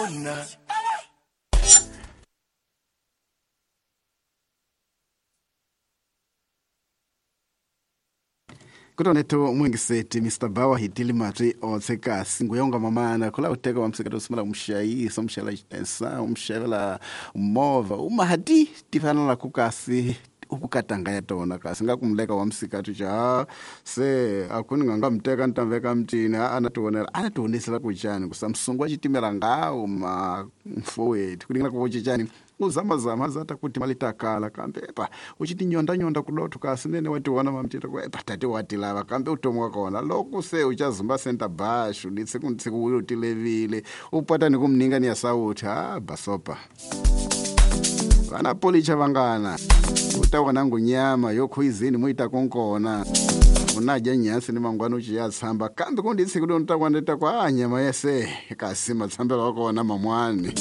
Vona. Kutoneto mwingiseti Mr. Bawa hitili matwi otse kasi nguyonga mamana kula uteka wa msikato usumala umshayisa umshayela xipensa umshayela movha umahati tifanana kukasi ukukatanga ya tona kasi nga kumleka wa msikati cha se akuni nga mteka ntamveka mtini a anationela anationesela kuchani kusa msungu wa chitimela ngawo ma mfowethu kulingana kukuchichani uzamazama azata kuti malitakala kambe epa uchiti nyonda kudotho kasi nene wationa mamtita ku epa tate watilava kambe utomi wa kona loko se uchazumba senta bashu nitsiku uyo tilevile upata nikumninga ni ya sauti ha basopa vana policha vangana utawana ngunyama yokhuizini muita konkona unadya nyasi ni mangwana uchiya tsamba kambe kunditsi kuti unotakwaneta kwa nyama yese kasi matsambelo wakona mamwani.